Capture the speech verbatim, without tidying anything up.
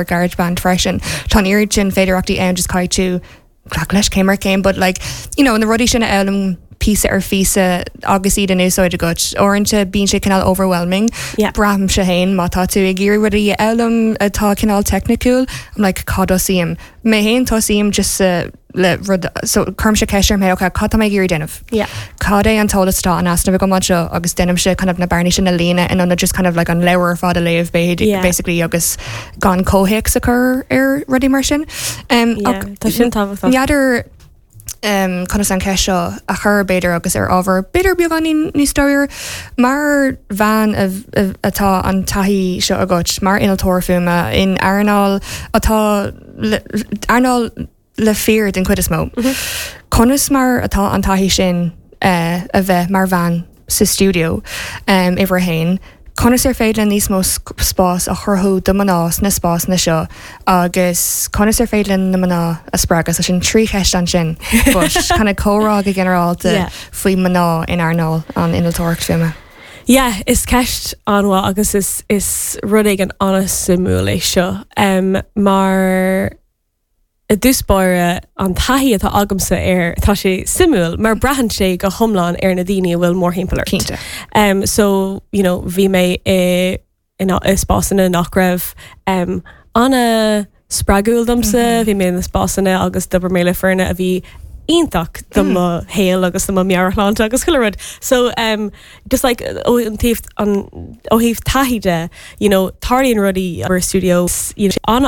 GarageBand freisin. Tá an oiread sin féidearthachtaí ann just caithfidh tú glacadh leis céim ar chéim, but like you know, na rudaí sin a fhoghlaim píosa ar phíosa agus iad in úsáid agat. Uaireanta bíonn sé cineál overwhelming. Yeah. Braithimse féin má tá tú ag iarraidh rudaí a fhoghlaim atá cineál teicniúil, I'm like cad tosaím. Mé féin tosaím just uh, le rud so cuirimse ceist orm féin okay, cad tá mé ag iarraidh déanamh. Yeah. Cad é an t-eolas atá in easnamh agam anseo agus déanaimse kind of na bearnaí sin a líonadh in ionad just kind of like an leabhar ar fad a léamh Yeah. basically agus gan comhthéacs a chur ar rudaí mar sin. Um, Yeah, ach tá sin tábhachtach. N'fheadar um, conas an cheist seo a chur b'fhéidir agus ar ábhar b'fhéidir beagáinín níos dáiríre mar bhean a- a- atá an taithí seo agat mar innealtóir fuaime in earnáil atá le- earnáil le fir den chuid is mó. Conas mar atá an taithí sin uh, a bheith mar bhean sa studio um, uimhir a haon, Conas ar féidir níos mó sc- spás a chruthú do mná sna spásanna seo agus conas ar féidir na mná a spreagadh sin trí cheist ansin but kind of comhrá go ginearálta Yeah. faoi mná in earnáil an innealtóireacht fuaime. Yeah, is ceist an-mhaith agus is is rud éigin an-suimiúil é seo. Um, mar i dtús báire an taithí atá agamsa air tá sé suimiúil mar braitheann sé go hiomlán ar na daoine a bhfuil mórthimpeall ort. Cinnte. Um, so you know, bhí mé i in i spásanna nach raibh um, an-spreagúil domsa, bhí mé in spásanna agus d'oibrigh mé le foirne a bhí iontach do mo shaol agus do mo mheabhairshláinte agus chuile rud. So um, just like ó an taobh an ó thaobh taithí de, you know, tarlaíonn rudaí ar studio you know, an